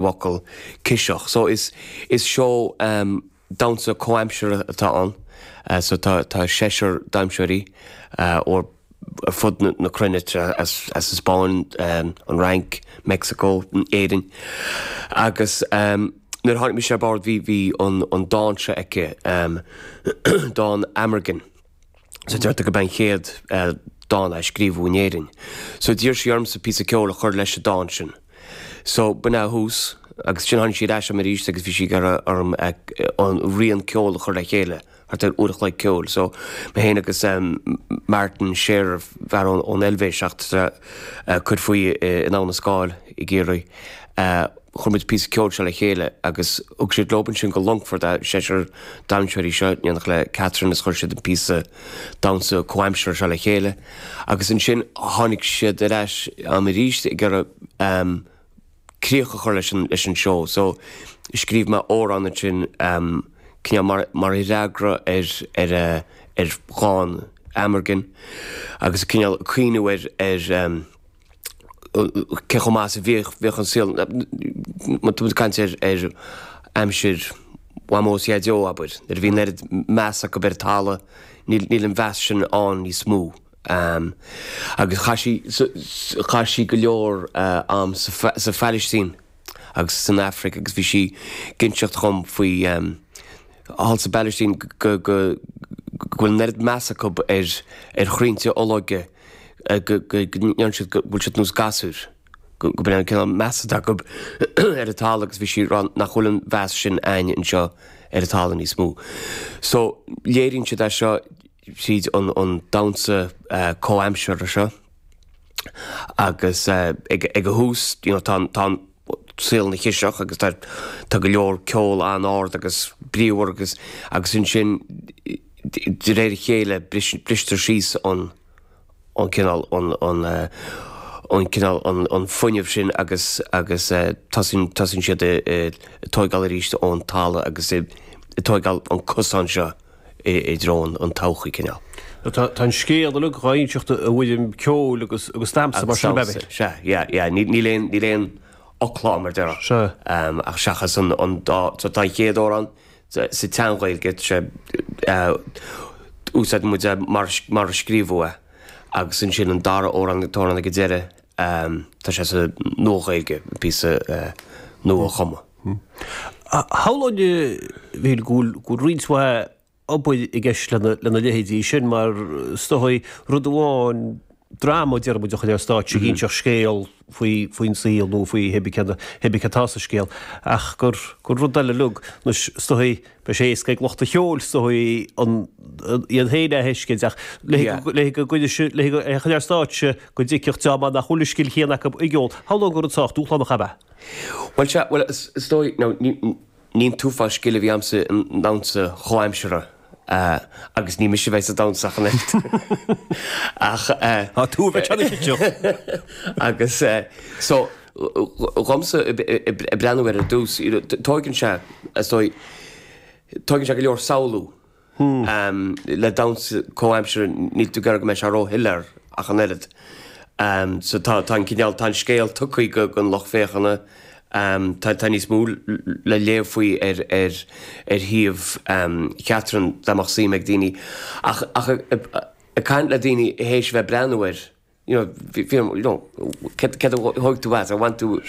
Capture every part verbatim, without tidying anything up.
bhfocal ciseach. So is is seó um, damhsa comhaimseartha atá ann. Uh, so tá tá seisear damhsóirí uh, ó ar fud na, na cruinne as, as an Spáinn, um, an Fhrainc, Mexico, Éirinn. Agus um, nuair tháinig mise ar bord bhí bhí an, an dán seo aici um, dán Amergin. So deirtear gurb é an chéad uh, dán a scríobhadh in Éirinn. So d'iarr sí ormsa píosa ceoil a chur leis an dán sin. So b'in é thús agus sin tháinig sí ar ais arís agus bhí sí ag iarraidh orm an rian ceoil a chur le chéile thart ar uair a chloig ceoil. So mé féin agus um, Martin Scherer fear ón ón Eilvéis ach uh, cur faoi in Abha na Scáil i gCiarraí. Uh, chuir muid píosa ceoil seo le chéile agus thug siad leo sin go Longfort a seisear damhsóirí seo déanach le Catherine is chuir siad an píosa damhsa comhaimseartha seo le chéile. Agus ansin tháinig siad ar ais am arís ag iarraidh um, críoch a chur leis an, leis an seó. So scríobh mé amhrán ansin um, cineál mar, mar fhreagra ar, ar, ar, ar dhán Amergin agus cineál cuimhniú ar, ar um, cé chomh maith a bhíodh bhíodh an saol má tú caint ar ar aimsir Mhamó is Dhaideo abair, nuair a bhí an oiread meas acu ar an talamh níl níl an mheas sin ann níos mó. Um, agus chaith sí chaith sí go leor uh, am sa, sa Phalaistín agus san Afraic agus bhí sí ag inseacht dhom faoi um, thall sa bPalaistín go go go bhfuil an oiread meas acu ar ar chrainnte olóige go ndéanann siad go bhfuil siad nós gasúir go go bhfuil an cineál meas acu ar an talamh agus bhí sí ag rá nach bhfuil an mheas sin ann anseo ar an talamh níos mó. So léiríonn siad é seo tríd an, an damhsa uh, comhaimseartha seo agus uh, ag, ag a thús you know, tá, tá saol ina chiseach agus tá, tá go leor ceol an-ard agus bríomhar agus agus ansin de réir a chéile bristear síos an an cineál an an uh, an cineál an, an fuinneamh sin agus agus uh, tosaíonn tosaíonn siad ag tógáil arís ón talamh agus ag tógáil an cosán seo i i dtreo an, an todhchaí cineál. Tá an scéal uilig á inseacht i bhfoirm ceoil agus agus damhsa mar sin bebe. Sea, yeah, yeah, níl aon níl aon fhocla mar deireadh. Sea. Um, ach seachas an, an dá, so tá an chéad amhrán sa, sa tSean-Ghaeilge sé uh, úsáid muid é mar, mar a scríobhadh é agus ansin an dara amhrán amhrán ag an deireadh um, tá sé sa Nua-Ghaeilge píosa uh, nua-chumtha. Shamhlóinn bhí go bhfuil roinnt mhaith obair i gceist lena lena leithéidí sin mar is dóigh rud amháin dráma deir muid a chur ar stáitse ag inseacht scéal faoi faoin saol nó faoi hibí hibí atá sa scéal ach gur gur rud eile uilig nó is dóigh beidh sé éasca ag lucht an cheoil is dóigh an iad féin a thuiscint ach le le go gcuide le go chur ar stáitse go dtuigfeadh dream nach bhfuil an scil chéanna acu i gceol. Shamhlóinn gur rud sách dúshlánach ab ea. Well sea, well is is dóigh no, ní ní an t-uafás scil a bhí a'msa i ndamhsa chomhaimseartha uh, agus ní mise a bheidh sa damhsa ach an oiread. Ach uh, Tá tú a bheith teannta agus uh, so dhomsa ag breathnú ar ar dtús you know, tógann sé is dóigh tógann sé go leor samhlú um, le damhsa comhaimseartha níl tú ag iarraidh go mbeidh sé róshoiléir ach an oiread. Um, so tá tá an cineál tá an scéal tugtha go gon lucht féachana um, tá tá níos mó le léamh faoi ar ar ar shuíomh um, Catherine dá mbeadh suim ag daoine ach ach ag caint le daoine théis bheith breathnú air you know, bhí you know, cad cad a thóg tú as a bhain tú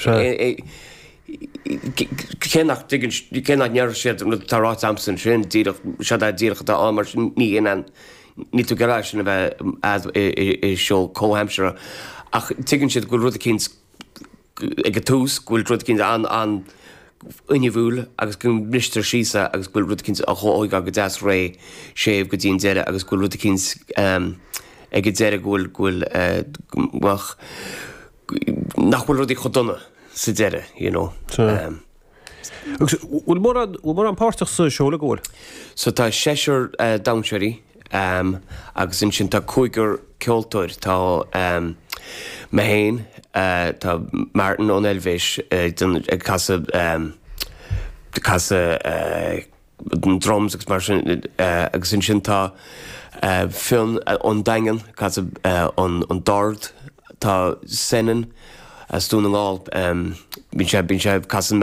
cé nach dtuigeann cé nach ndeir siad an rud atá ráite a'msa ansin díreach seo é díreach atá ann mar sin ní in ní tú gará sin a bheith i seó comhaimseartha ach tuigeann siad go bhfuil rud eicínt ag an tús go bhfuil rud eicínt an an fhuinniúil agus go mbristear síos é agus go bhfuil rud eicínt á thógáil go deas réidh séimh go dtí an deireadh agus go bhfuil rud eicínt ag an deireadh go bhfuil go bhfuil bhuel nach bhfuil rudaí chomh dona sa deireadh you know. Um, Agus bhfuil mórán bhfuil mórán páirteach sa seó le go bhfuil? So tá seisear uh, damhsóirí um, agus ansin tá cúigear ceoltóir tá um, mé féin uh, tá Martin ón Eilvéis uh, ag casadh um, casadh uh, drums agus mar sin uh, agus ansin tá uh, Fionn uh, ón Daingean casadh uh, an, an dord tá Senan As Dún na nGall, bíonn sé bíonn sé casann.